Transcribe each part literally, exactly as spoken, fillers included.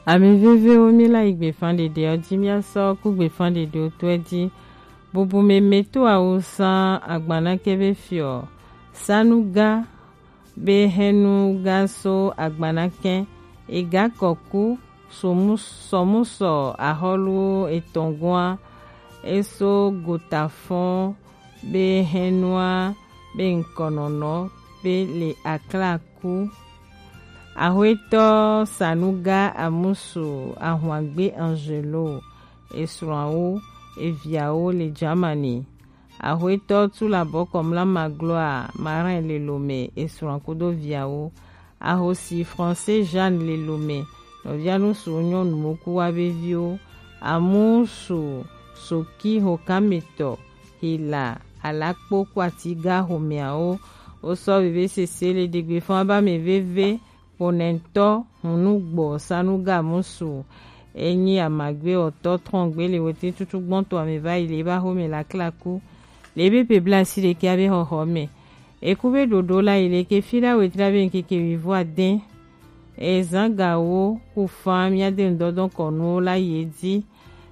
Ami vevewo, mi la yi gbefan ɖeɖe ɔ ji, mi a sɔ ku gbefan ɖeɖe ɔ to ɛ ji. Bubu meme to awu san agbana kɛ be fiɔ. Sanuga be hɛnu ga so agbana kɛ. Ega kɔku somu sɔmusɔ ahɔlu etɔn gua. Eso gota fɔn be hɛnua be ŋkɔnɔnɔ be le aklaku. Axwetɔ Sanuga Amusu Ahwangbe Angelo, esrɔ̃awo, eviawo le Germany. Axwetɔ Tulabɔ Kɔmla Magloire Marin le Lomé, esrɔ̃a kudo viawo. Ahosi Français Jeanne le Lomé, nɔvia nusu nyɔnuwo ku wa be viwo. Amusu Soki Hokametɔ Hila Alakpo ku Atiga xomɛawo. Wo sɔ veve sese le ɖegbe fɔn ba mɛ veve. Ponɛtɔ hunu gbɔ Sanuga Musu, enyi amagbe ɔtɔ trɔngbe le wete tutu gbɔntɔ ame va yi le ba xomɛ la klaku. Le be pe bla si ɖekɛ abe xɔxɔ mɛ. Eku be ɖoɖo la yi le ke fi ɖa wetra be ŋkeke wivɔ adɛn. Ezan gawo ku fan mia de ŋdɔdɔn kɔnuwo la yi edzi.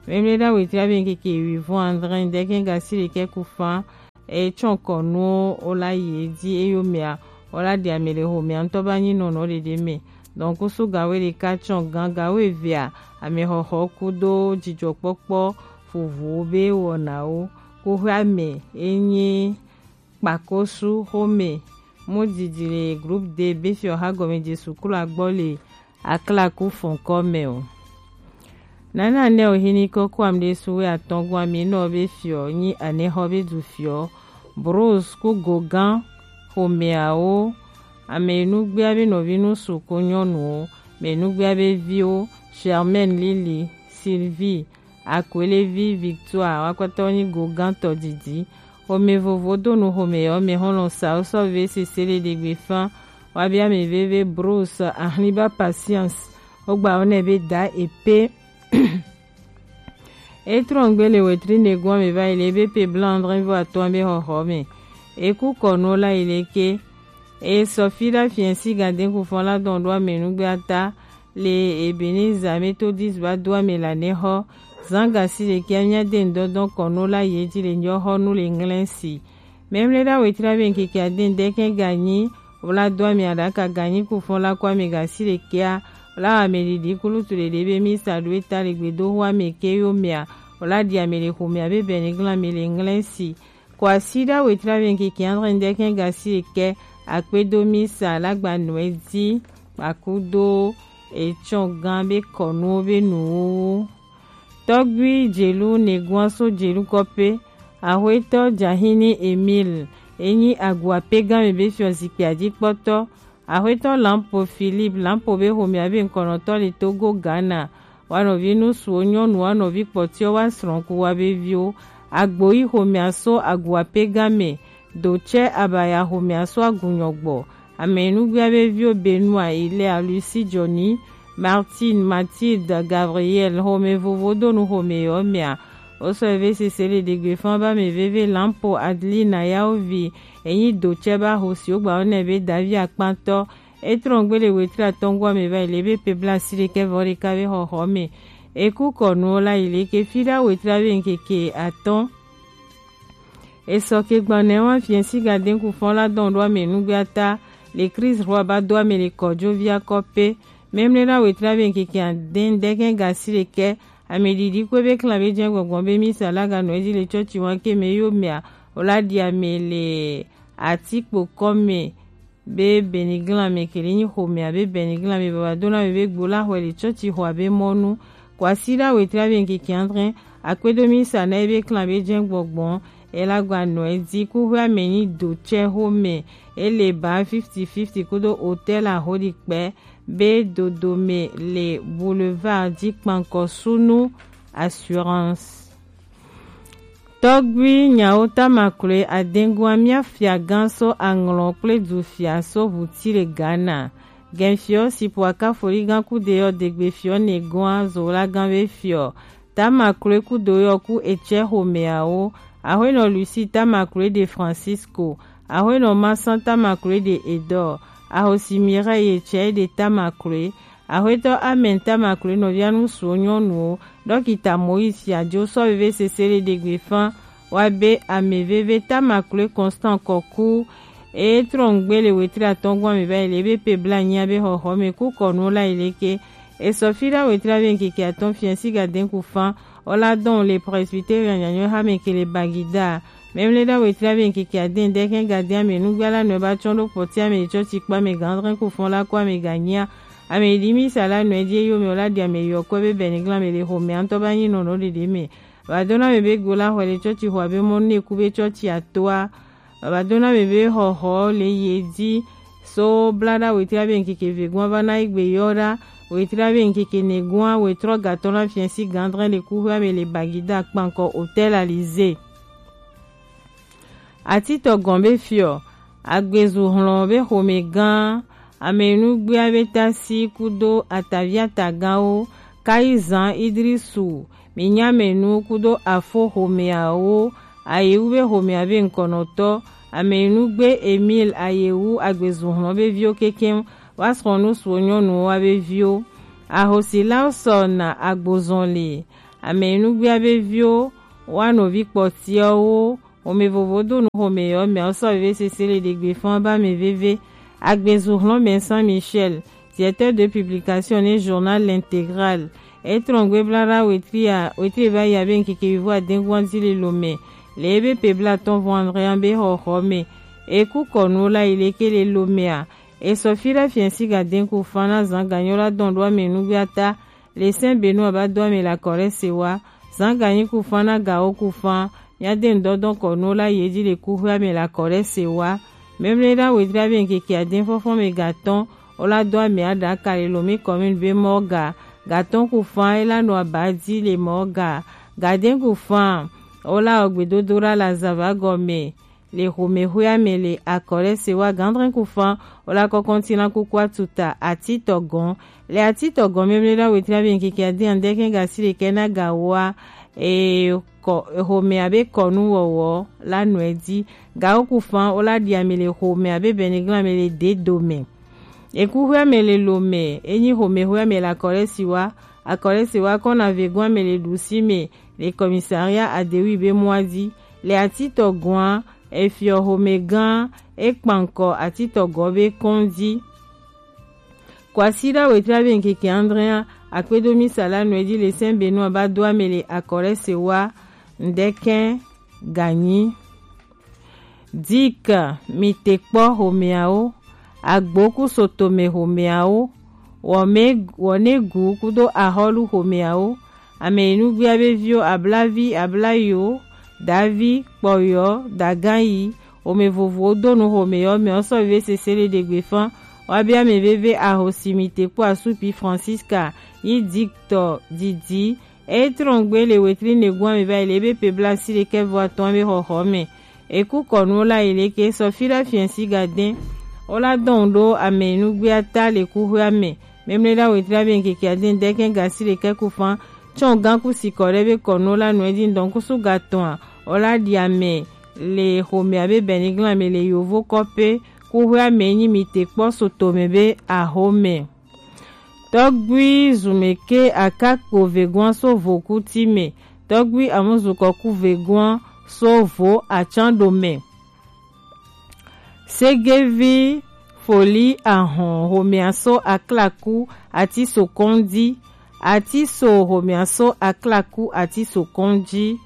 Mɛmlɛ ɖa wetra be ŋkeke wivɔ adrɛn dɛkɛ ga si ɖekɛ ku fan. Etsɔn kɔnuwo wo la yi edzi eyomea wo la ɖi ame le xomea ŋutɔ ba nyi nɔnɔ ɖeɖe mɛ. Donc kusu gawo ɖeka tsɔn gan gawo evea, amexɔxɔ kudo dzidzɔkpɔkpɔ vovowo be wɔnawo. Kuxeame enyi kpakosu xome mu didi le groupe D be fiɔ xa gɔme Jesu klo agbɔ le aklaku fɔnkɔ mɛ o. Nana nɛ o hini kɔkɔ am ɖe su we atɔn gu ami nɔ be fiɔ nyi anexɔ be du fiɔ. Bros ku gogan xomeawo, ame nugbea be nɔvi nusu ko nyɔnuwo, ame nugbea be viwo, Germaine, Lili, Sylvie, Akwelevi Victoire, wakpata wo nyi gogantɔ didi. Xome vovo do nu xome yɔ mɛ xɔlɔ sa wo sɔ ve sese le ɖegbe fan. Wa bia mi veve Bruce Ahliba Patience. Wo gba wo nɛ be da epe. E trɔngbe le wetri ne gɔn mi va yi le be pe blanc andrin vo atɔn be xɔxɔ mɛ. E ku kɔnu la yi le ke. E sɔ fi ɖa fiɛnsi gaden ku fɔn la dɔn ɖo amɛnugbe ata. Le Ebenezer Methodist ba do ame la ne xɔ. Zan gasi ɖekɛ mia de ŋdɔdɔn kɔnu la ye ji le nyɔ xɔ nu le ŋlɛ si. Mɛmlɛ ɖa wetri abe ŋkeke aden dɛkɛ ganyi. Wla do ame aɖaka ganyi ku fɔn la kɔ ame gasi ɖekɛa. Wla ame ɖiɖi kulutu ɖeɖe be mi sa ɖo eta le gbedoxɔ ame ke yo mea. Wla ɖi ame le xomea be bɛniglan ame le ŋlɛ si. Kwasiɖa wetri abe ŋkeke adre ŋdɛkɛ gasi ɖekɛ akpedo misa la gba nɔe di kpakudo etsɔ gan be kɔnuwo be nuwuwu. Tɔgbui Jelu Neguaso Jelu kɔpe, Axwetɔ Jahini Emile, enyi agua pe gan me be fiɔ zikpui adikpɔtɔ, Axwetɔ Lampo Philippe Lampo be xomea be ŋkɔnɔtɔ le Togo Ghana, wa nɔvi nusuwo nyɔnu wa nɔvi kpɔtiɔ wa srɔ̃ku wa be viwo. Agboyi xomea so agua pe gan me, Dotsɛ abaya xomea so agunyɔ gbɔ. Ame nugbea be viwo Benoit, Ilea, Lucie, Johnny, Martine, Mathilde, Gabriel, xome vovo do nu xome yɔ mea. Wo sɔ eve sese le ɖegbe fan ba me veve Lampo Adelina yawo vi. Enyi Dotsɛ ba xo si wo gba wo nɛ be Davi akpantɔ. E trɔn gbe le wetri atɔn gua me va yi le be pe bla si ɖekɛ vɔ ɖeka be xɔxɔ me. E ku kɔnuwo la yi le ke fi ɖa wetri abe ŋkeke atɔn. Esɔ ke gbanɛ wa fiɛnsi gaden ku fɔn la dɔn ɖo ame nugbe ata. Le Kristo xɔ aba do ame le kɔdzo via kɔ pe. Mɛmlɛ ɖa wetri abe ŋkeke aden dɛkɛ gasi ɖekɛ. Ame ɖiɖi kpe be klan be jɛ gbɔgbɔ be misa la ga nɔ edzi le tsɔtsi wa ke me yo mea. Wo la ɖi ame le atikpo kɔ me. Be bɛniglan me kele nyi xomea be bɛniglan me baba dona me be gbo la xɔe le tsɔtsi xɔa be mɔnu. Kwasiɖa wetri abe ŋkeke adre. Akpedo misa na ebe klan be jɛ gbɔgbɔ. Ela gba nɔ edzi kuxwe ame nyi Dotsɛ xome. Ele ba fifty fifty kudo hotel aho ɖi kpɛ. Be dodome le boulevard ji kpankɔ sunu assurance. Tɔgbui nyawo tamakloe adengua mia fiagã so aŋlɔ kple dufia so ʋuti le Ghana. Gɛnfiɔ si po akafoligan kude yɔ degbe fiɔ ne gɔa zola gan be fiɔ. Tamakloe kudo yɔ ku etsɛ xomeawo. Axwenɔ Lucie tamakloe de Francisco. Axwenɔ Masan tamakloe de Edor. Ahosi Mireille etsɛ de tamakloe. Axwetɔ Amen Tamakloe nɔvia nusuwo nyɔnuwo, Dɔkita Moïse Fiajo sɔ veve sese le ɖegbe fan wa be ameveve Tamakloe Constant Kɔku e trɔngbe le wetri atɔngɔn ame va yi le ebe pe bla nyia be xɔxɔ me ku kɔnu la yi leke. E sɔ fi ɖa wetri ave nkeke atɔn fiɛn si ga den ku fan o la dɔn le Presbyterian nyanyɔ ha me ke le Bagida. Mɛmlɛ ɖa wetri ave nkeke aden dɛkɛn ga den ame nugba la nɔ ba tsɔn ɖo kpɔti ame tsɔ tsi kpa ame gandrɛn ku fan la ko ame ga nyia. Ame ɖi mi sa la nɔ edzi eyo me o la ɖi ame yɔ kɔ be bɛniglan me le xo me antɔ ba nyi nɔ nɔ ɖeɖe me. Baba dona me be go la xɔ le tsɔtsi xɔ abe mɔ ne ku be tsɔtsi atoa. Baba dona me be xɔxɔ le ye dzi. So bla ɖa wetri abe nkeke ve gɔn va na egbe yɔ ɖa. Wetri abe nkeke ne gɔn wetrɔ gatɔ na fiɛn si gandrɛn le ku hwe ame le Bagida kpankɔ Hôtel Alizé. Atitɔ gɔn be fiɔ, agbezu hlɔn be xome gã, ame nugbea be tasi kudo ataviata gãwo, kayi zan Idrisu, minyamenu kudo afo xomeawo, ayewu be xomea be ŋkɔnɔtɔ, ame nugbe Emile ayewu agbezu hlɔn be viwo kekeŋ, wa srɔ̃ nusuwo nyɔnuwo wa be viwo. Ahosilawo sɔ na agbozɔn le, ame nugbea be viwo, wa nɔvi kpɔtiawo, Xome vovo do nu xome yɔ mɛ sɔ veve sese le ɖegbe fɔn ba mɛ veve. Agbezu hlɔn mɛ Saint Michel, directeur de publication ne journal L'Intégral. E trɔngbe bla ɖa wetri a wetri va yi abe nkeke vivo adengun adi le lo mɛ. Le ebe pe bla tɔn vɔn andre an be xɔxɔ mɛ. E ku kɔnu la yi leke le lo mɛ a. E sɔ fi ɖa fiɛn si ga den ku fan na zan ganyɔ la dɔn ɖo ame nugbe ata. Le sɛn benu aba do ame le akɔ ɖe se wa. Zan ganyi ku fan na gawo ku fan. Mia de ŋdɔdɔn kɔ nu la ye dzi le ku hwe ame le akɔ ɖe se wa. Memle ɖa wetri abe ŋkeke aden fɔfɔ me ga tɔn. O la do ame aɖa ka le lomi commune be mɔ ga. Ga tɔn ku fan e la nɔ aba dzi le mɔ ga. Ga den ku fan. O la ɔgbedodo ɖa la zava gɔme. Le xomexoea me le akɔ ɖe se wa gandrɛn ku fan o la kɔkɔn tina kuku atuta atitɔ gɔn. Le atitɔ gɔn memle ɖa wetri abe ŋkeke adi andɛkɛn gasi ɖekɛ na gawoa e kɔ xome abe kɔnu wɔwɔ la nɔe dzi. Gawo ku fan o la ɖi ame le xome abe bɛniglan ame le de dome. Ekuxoea me le lo me enyi xomexoea me le akɔ ɖe se wa. Akɔ ɖe se wa kɔna vegoa me le ɖusi me le commissariat adewi be mɔa dzi. Le atitɔ gɔa efiɔ xome gã ekpankɔ atitɔ gɔ be kɔn dzi. Kwasi ɖa wetri abe ŋkeke andrea akpedo misa la nɔe dzi le sɛn benu aba do ame le akɔ ɖe se wa ŋdɛkɛn ganyi. Dik, mi te kpɔ xomeawo, agbo ku sotome xomeawo, wɔme wɔnegu kudo axɔlu xomeawo, ame yi nugbea be viwo ablavi, ablayiwo, davi, kpɔyɔ, daganyi, xome vovowo do nu xomeyɔ mɛ ɔsɔ veve sese le ɖegbe fan, wa be ame veve ahosi mi te kpɔ asupi Francisca, yi diktɔ didi, Etrɔngbe le wetri negun ame va yi le ebe pe bla si ɖekɛ vɔ atɔn be xɔxɔ me. Eku kɔnu la yi leke sɔ fi ɖa fiɛn si ga den. O la dɔn ɖo ame nugbea ta le kuxoea me. Memle ɖa wetri abe ŋkeke aden dɛkɛn gasi ɖekɛ ku fan. Tsɔn gan ku sikɔ ɖe be kɔnu la nɔe dzi ŋdɔn kusu ga tɔn a. O la ɖi ame le xome abe bɛniglan me le yovo kɔpe. Kuxoea me nyi mi te kpɔ sotome be axome. Tɔgbui zumeke akakpo vegoa so vokuti me. Tɔgbui amuzukɔku vegoa so vo atsan ɖo me. Segevi foli ahɔn homea so aklaku ati so kɔndi. Ati so homea so aklaku ati so kɔndi.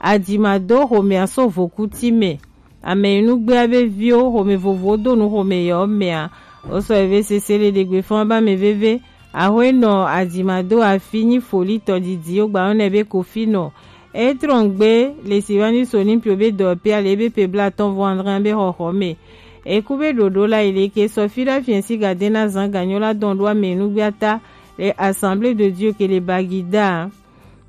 Adimado homea so vokuti me. Ame yi nugbea be viwo xome vovowo do nu xome yewo mea, wo sɔ eve sese le ɖegbe fɔn ba me veve. Axwe nɔ adima do afi nyi foli tɔdidi wo gba wɔnɛ be kofi nɔ. Etrɔngbe le si va ni so ni pio be dɔ pe ale be pe bla tɔn vɔ andre be xɔxɔ me. Eku be ɖoɖo la yi leke sɔ fi ɖa fiɛ si gade na zan ganyo la dɔn ɖo ame nugbea ta le Assemblée de Dieu ke le Bagida.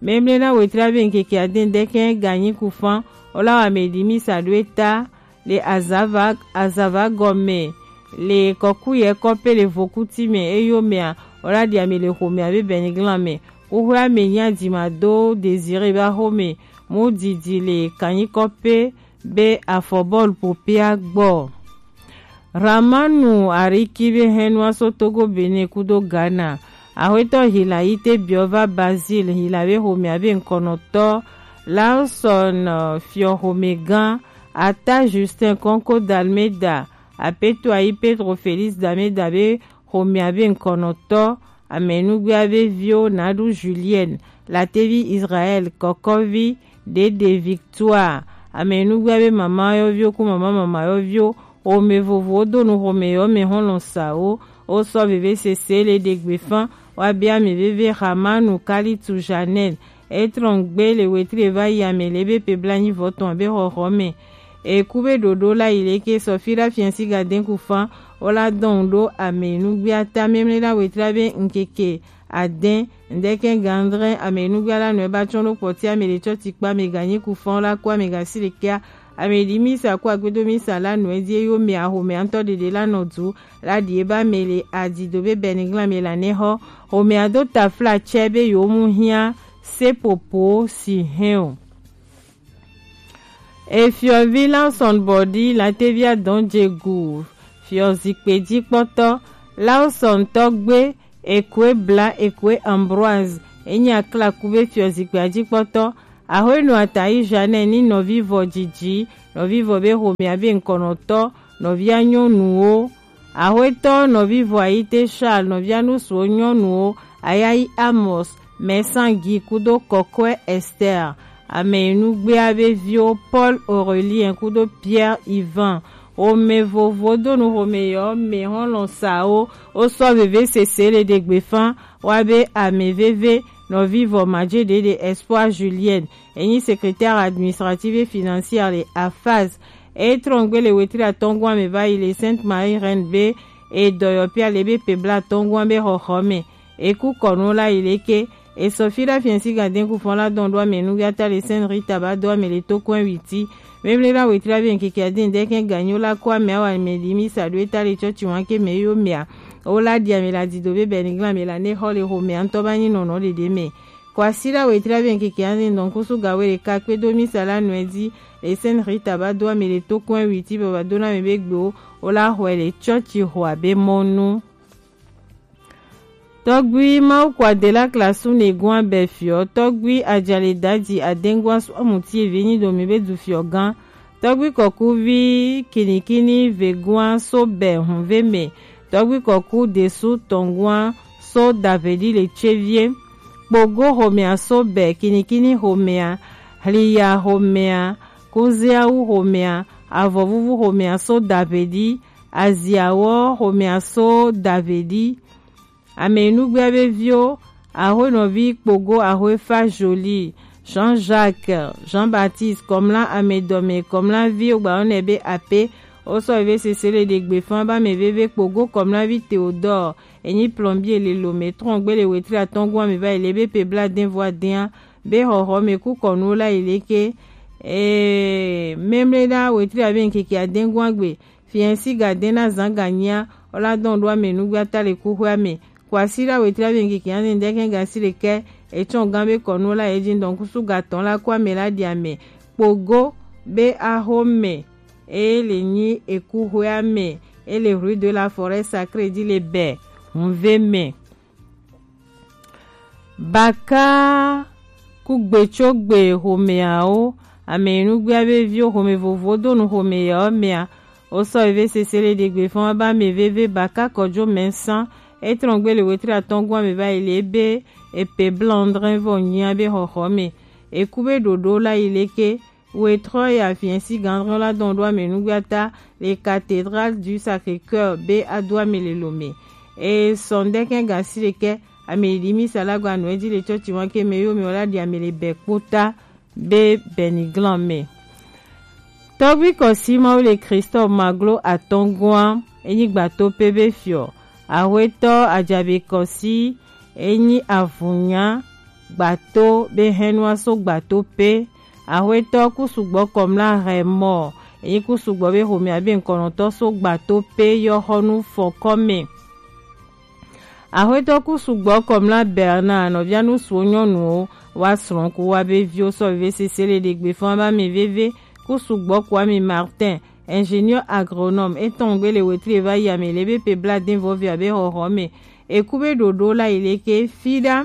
Memle na wetri abe ŋkeke aden dɛkɛn ganyi ku fan, o la wa me ɖi misa ɖo eta le azava azava gɔme le kɔku yɛ kɔpe le vokuti me eyo mea, o la ɖi ame le xome abe bɛniglan me. Xoxoe ame nyi adima do Désiré ba xome mu didi le kanyi kɔpe be afɔbɔlu popea gbɔ. Ramanu Ariki be hɛnua so Togo, Benin kudo Ghana. Axwetɔ Hilayite Biova Bazil Hilawe xomea be ŋkɔnɔtɔ, Lawson, eh, Fiɔ xomegã, Ata Justin Konko Dalmeda, Apetoayi Petro Felix Dameda be xomea be ŋkɔnɔtɔ, Amɛnugbea be viwo Nadu Julienne, Latevi Israel, Kɔkɔvi, Dede Victoire, Amɛnugbea be mama yɔviwo ku mama mama yɔviwo, xome vovowo do nu xome yɔ mɛ hɔn lɔn sa wo, wo sɔ veve sese le ɖe gbe fan, wa be amɛ veve Hamanu Kalitu Janel, e trɔn gbe le wetri e va yi amɛ le be pe blanyi vɔ tɔn be xɔxɔ mɛ. Eku be ɖoɖo la yi leke sɔfi la fiɛnsi ga den ku fan, wo la dɔn ɖo amɛ nugbea ta mɛmlɛ la wetri be ŋkeke adɛn, ŋdɛkɛ gandrɛ amɛ nugbea la nɔɛ ba tsɔn ɖo kpɔti amɛ le tsɔti kpa amɛ ganyi ku fan la ku amɛ gasi le kea amɛ ɖi misa ku agbedo misa la nɔɛ die yo mɛ axomɛ ŋtɔ ɖeɖe la nɔ du la ɖi eba mɛ le adi do be bɛniglan mɛ la nɛ xɔ xomɛ ado tafla tsɛ be yo mu hiã sepopo si hɛn o. Efiɔvi Lawson Bɔdi Latevia Dɔnjegu, fiɔzikpe jikpɔtɔ Lawson Tɔgbe Ekue Bla Ekue Ambroise, enyi aklaku be fiɔzikpea jikpɔtɔ, Ahoenu Atayi Jeanne ni nɔvivɔ Jiji, nɔvivɔ be xomea be ŋkɔnɔtɔ, nɔvia nyɔnuwo, Axwetɔ nɔvivɔ Ayite Charles, nɔvia nusuwo nyɔnuwo, Ayayi Amos, Mɛsangi kudo Kɔkɔɛ Esther, amɛnugbea be viwo Paul Aurelien kudo Pierre Ivan, xome vovo do nu xome yɔ mɛ hɔn lɔn sa wo, wo sɔ veve sese le ɖe gbe fan, wa be amɛ veve nɔvivɔ Majeɖeɖe Espoir Julienne, enyi secrétaire administratif et financière le afaz. E trɔn gbe le wetri atɔngua mɛ va yi le Sainte Marie Reine be e dɔyɔ pia le be pe bla atɔngua be xɔxɔ mɛ. E ku kɔnu la yi leke e sɔ fi la fiɛnsi ga den ku fɔn la dɔn ɖo amɛ nu ya ta le Sainte Rita ba do amɛ le to kɔn witi. Mɛmlɛ la wetri la be ŋkeke adin dɛkɛ ganyo la ko amɛ awa mɛ di mi sa do e ta le tsɔtsi wan ke mɛ yo mɛ a. O la di amɛ la di do be bɛ ni glan mɛ la ne xɔ le xo mɛ a ŋtɔ ba nyi nɔnɔ ɖeɖe mɛ. Kwasida wetri la be ŋkeke ande dɔn kusu ga wele ka kpe do misa la nɔɛ di le Sainte Rita ba do ame le to kɔn witi baba do na me be gbe o, o la xɔɛ le tsɔtsi xɔ abe mɔnu. Tɔgbui Mawu kwa de la klasu ne gua bɛ fiɔ, tɔgbui ajale daji adengua sɔ amuti evi nyi do mi be du fiɔ gan. Tɔgbi kɔkuvi kinikini vegua so bɛ hunve mɛ. Tɔgbi kɔku desu tɔngua so davedi le tsevie. Kpogo homea so bɛ kinikini homea. Hliya homea. Kuziawu homea. Avɔvuvu homea so davedi. Aziawɔ homea so davedi. Amɛnugbea be viwo, Ahoenɔvi Kpogo Ahoefa Jolie, Jean-Jacques, Jean-Baptiste, Kɔmla Amɛdɔmɛ, Kɔmla vi wogba yɔnɛ be Ape, wosɔ veve sese le ɖe gbe fan ba mɛ veve Kpogo Kɔmla vi Théodore, enyi plombier le Lomé trɔn gbe le wetri atɔngua mɛ va yi le be pe bla den vɔ adɛn be xɔxɔ mɛ ku kɔnuwo la yi leke, ee, mɛmlɛ ɖa wetri abe ŋkeke adɛngua gbe, Fiɛnsi ga dɛn na zan ga nyia, o la dɔn ɖo amɛ nugbe ata le kuxwe amɛ. Kwasi la wetri la be ŋkeke ane dɛkɛ ga si le kɛ, etsɔn gan be kɔnu la ye jin dɔn kusu ga tɔn la ko amɛ la di amɛ. Kpogo be aho mɛ, e le nyi ekuxwe amɛ, e le rue de la Forêt Sacrée di le bɛ, hunve mɛ. Baka kugbetsogbe xomeawo, amɛnugbea be viwo xome vovowo do nu xome yawo mɛa, wosɔ veve sese le ɖegbe fɔn ba mɛ veve baka kɔjo mɛ san. Etrɔn gbe le wetri atɔngua mɛ va yi le be epe blanc drin vɔ nyia be xɔxɔ mɛ. Eku be ɖoɖo la yi leke, Wetrɔ ya fiɛnsi gandrɔ la dɔn ɖo amɛnugbea ta le Cathédrale du Sacré-Cœur be ado amɛ le Lomé. E sɔn dɛkɛ ga si le kɛ amɛ ɖi misa la gba nɔ edzi le tsɔtsi wan ke mɛ yo mɛ wala ɖi amɛ le bɛ kpota be bɛniglan mɛ. Tɔgbi kɔsi Mawu le Christophe Maglo atɔngua, enyi gbato pe be fiɔ. Ahwetɔ ajabe kɔsi, enyi avunya gbato be hɛnua so gbato pe. Ahwetɔ kusugbɔ kɔmla hɛmɔ, enyi kusugbɔ be homea be ŋkɔnɔtɔ so gbato pe yɔ xɔnu fɔkɔ mɛ. Ahwetɔ kusugbɔ kɔmla Bernard nɔvia nusuwo nyɔnuwo wa srɔ̃ ku wa be viwo sɔ veve sese le ɖegbe fɔn ba mi veve kusugbɔ ku ami Martin, ingénieur agronome, etɔn gbe le wetri va yi amɛ le be pe bla den vɔ via be xɔxɔ mɛ. Ekube ɖoɖo la yi leke fi ɖa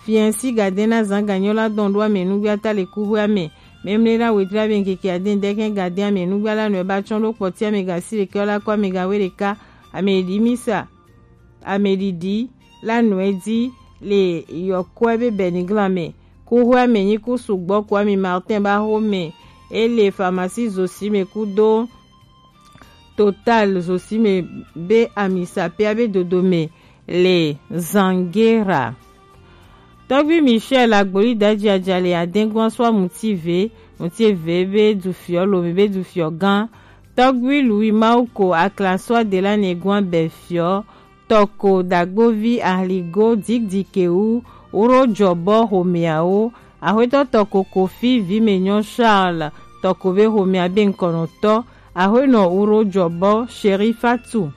fiɛnsi gadɛn na zan ganyo la dɔn ɖo amɛ nugbe ata le kuxwe amɛ. Mɛmlɛ ɖa wetri abɛ nkeke adɛn dɛkɛn gadɛn amɛ nugbe ala nɔ eba tsɔn ɖo kpɔti amɛ ga si leke ɔla kɔ amɛ ga we ɖeka amɛ ɖi misa amɛ ɖiɖi la nɔ edi le yɔkɔ ebe bɛniglan mɛ. Kuxwe amɛ nyi ku sugbɔ ku ami Martin ba xo mɛ ele pharmacie zosi mɛ ku do Total zosimɛ be ami sapea be dodomɛ le Zangera. Tɔgbi Michel Agboli Daji Ajale adengua swa mutive, mutive be dufiɔ lome be dufiɔ gan. Tɔgbi Louis Mauko akla swa de la ne gua be fiɔ. Tɔko dagbovi ahligo didikewu wuro jɔbɔ homeawo. Axwetɔ tɔko kofi vime nyɔ Charles tɔko be homea be nkɔnɔtɔ. Axwenɔ wuro jɔbɔ Sherifatu.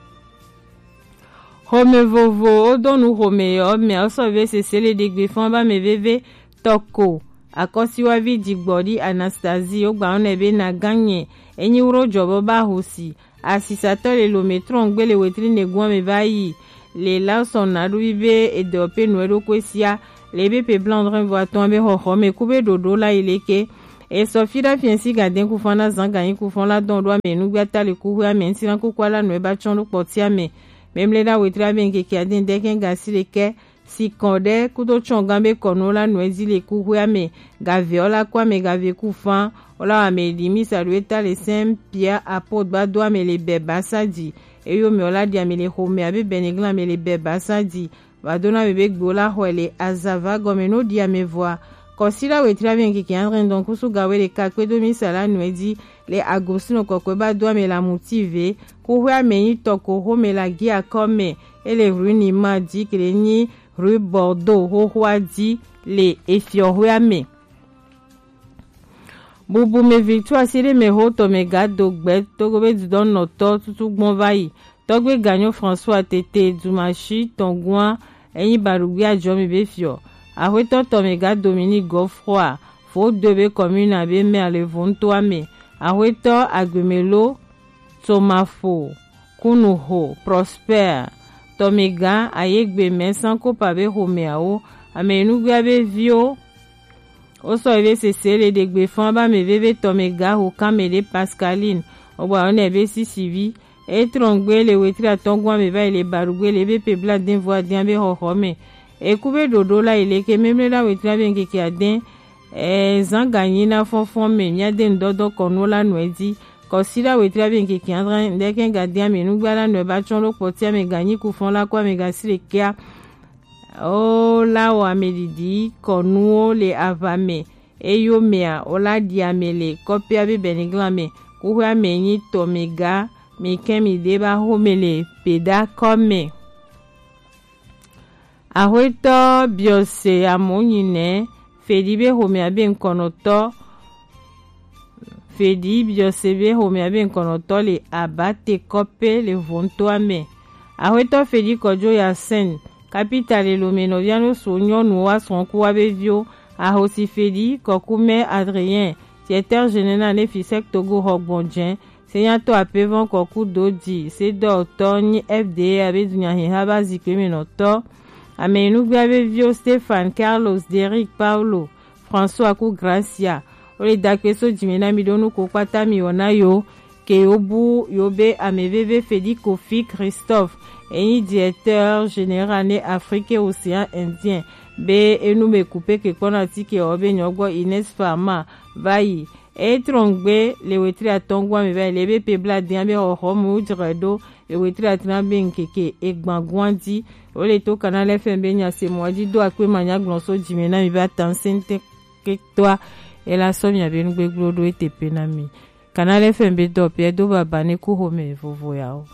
Home vovo wodonu home yɔ mɛ osɔ ve sese le ɖegbe fɔn ba mɛ veve tɔko akɔsiwavi digbɔɖi Anastasie wogba wonɛ be na ganye enyi wuro jɔbɔ ba hosi. Asisatɔ le lome trɔngbe le wetri negun ame va yi le la sɔ naɖuvi be edɔ pe nue ɖo koe sia le be pe blanc dre vo atɔn be xɔxɔ me ku be ɖoɖo la yi leke. Esɔ fi ɖa fiɛnsi gadɛn kufɔn na zan ganyi kufɔn la dɔn ɖo ame nugbe ata le kuxwe ame ŋsi na kuku ala nue ba tsɔn ɖo kpɔti ame. Memle ɖa wetri abe ŋkeke adɛn dɛkɛn gasi ɖekɛ. Sikɔn ɖe kudo tsɔn gan be kɔnu la nɔ ezi le kuxwea me. Gave ɔla kɔ ame gave ku fan ɔla wa me ɖi misa ɖo eta le Saint Pierre apôtre ba do ame le bɛ basa di. Eyo me ɔla ɖi ame le xome abe bɛniglan ame le bɛ basa di. Ba do na me be gbe ɔla xɔe le azava gɔme no ɖi ame vɔa. Kɔsi la wetri abe ŋkeke adre ŋdɔn kusu gawe ɖeka kpedo misa la nɔ ezi le agosino kɔkɔe ba do ame la muti ve. Kuxwea me nyi tɔko xome la gi akɔ me. Ele rue Nima di kele nyi rue Bordeaux xoxoa di le efiɔxwea me. Bubu me victoire si ɖe me ho tɔ me ga do gbe togo be dudɔ nɔtɔ tutu gbɔn va yi. Tɔgbe ganyo François tete dumashi tɔngua enyi baɖugbe ajɔ mi be fiɔ. Axwetɔ tɔ me ga Dominique Godefroid fo do be commune abe maire le vontoa me. Axwetɔ agbemelo Tomafo, Kunuho, Prosper, Tɔmega, Ayegbe, Mɛsan, Kopa be xomeawo, ame nugbea be viwo, wo sɔ be sese le ɖegbe fɔn ba me veve Tɔmega ho kan me ɖe Pascaline, wo gba wo nɛ be sisivi, e trɔngbe le wetri atɔngua me va yi le baɖugbe le be pe bla den vo adian be xɔxɔ me. Eku be ɖoɖo la yi leke memle la wetri be ŋkeke adɛn. Ɛɛ, zan ganyi na fɔnfɔn me mia de ŋdɔdɔ kɔnu la nɔ edi. Kɔsi la wetri be ŋkeke adre ŋdɛkɛ ga dia me nugba la nɔ ba tsɔn ɖo kpɔtia me ganyi ku fɔn la kɔ me ga si le kia. O la wɔ ame ɖiɖi kɔnuwo le ava me. Eyo mea o la ɖi ame le kɔpia be bɛniglan me. Kuxwea me nyi tɔ me ga me kɛ mi de ba xo me le pe da kɔ me. Axwetɔ biɔse amonyi nɛ fedi be xomea be ŋkɔnɔtɔ fedi biɔse be xomea be ŋkɔnɔtɔ le abate kɔpe le vontoa me. Axwetɔ fedi kɔjo ya sɛn kapita le lome nɔvia no so nyɔnu wa srɔ̃ku wa be viwo. Ahosi fedi kɔkumɛ Adrien, directeur général ne fisɛk togo xɔ gbɔn jɛn. Senyatɔ apevɔn kɔku do di sedɔtɔ nyi F D A be dunyahiha ba zikpe me nɔtɔ. Ame nugbea be viwo Stéphane, Carlos, Derrick, Paulo, François ku Gracia. Wo le dakpe so jime na mi ɖo nuko kpata mi wɔna yo ke yo bu yo be ame veve Fedi Kofi Christophe enyi directeur général ne Afrique Océan Indien be enu me kupe ke kpɔna tike ɔ be nyɔgbɔ Ines Farma va yi. Etrɔngbe le wetri atɔngua me va yi le be pe bla dia be xɔxɔ mu jre ɖo le wetri atɔngua be ŋkeke egbangua di. Wo le to Canal F M be nya se mɔ di do akpe ma nya gblɔ so jime na mi be atan sente ke toa. Ela sɔ mi abe nugbegblɔ ɖo ete pe na mi. Canal F M be dɔ pe do baba ne ku xome vovo ya o.